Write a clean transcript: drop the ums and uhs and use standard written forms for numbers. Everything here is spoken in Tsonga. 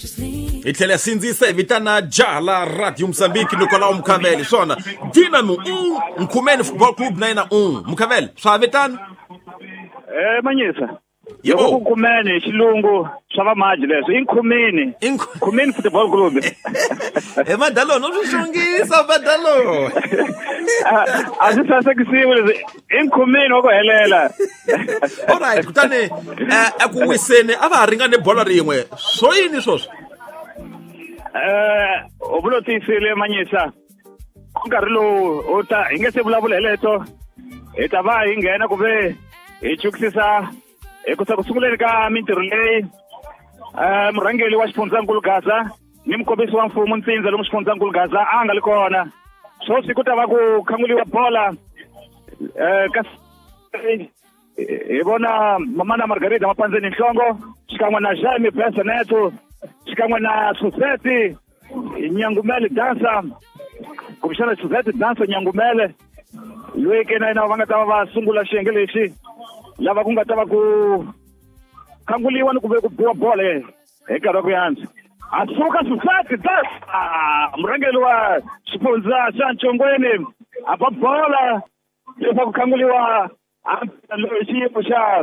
Hi tlhela sindzisa hi vitana jaha la Radio Mozambique Nicolau Mukhavele. Swona Dinamo 1, Nkhumeni Football Club na yena 1. Mukhavele, swa vitana? Manyisa. Yebo. Ku Nkhumeni hi xilungu swa va maji leswi i Nkhumeni. Nkhumeni Football Club. He Madalona u swi xongisa Madalona. A swi sasekisiwi leswi i Nkhumeni wa ku helela. Alright, kutani eku wiseni a va ha ringane bolo rin'we. Swo yini swoswo? U vula tiyisile Manyisa. Nkarhi lowu u ta hi nge se vulavula hi leto hi ta va hi nghena ku ve hi chukisisa hi ku ku sunguleni ka mintirho leyi murhangeri wa xifundzankulu Gaza ni mukombisi wa mfumo Ntsindza lomu xifundzankulu Gaza a nga li kona. Sweswi ku ta va ku khanguliwa bola ka hi vona Mamana Margarita Mapandzeni Nhlongo xikan'we na Jaime Besaneto xikan'we na Suzette Nyangumele Dansa, kumbexana Suzette Dansa Nyangumele loyi ke na yena va nga ta va va sungula xiyenge lexi lava ku nga ta va ku khanguliwa ni ku ve ku biwa bolo hi nkarhi wa ku yantswa. A suka Suzette Dansa murhangeri wa xifundza xa Ntshongweni a ba bola leswaku khanguliwa loyi xiyimo xa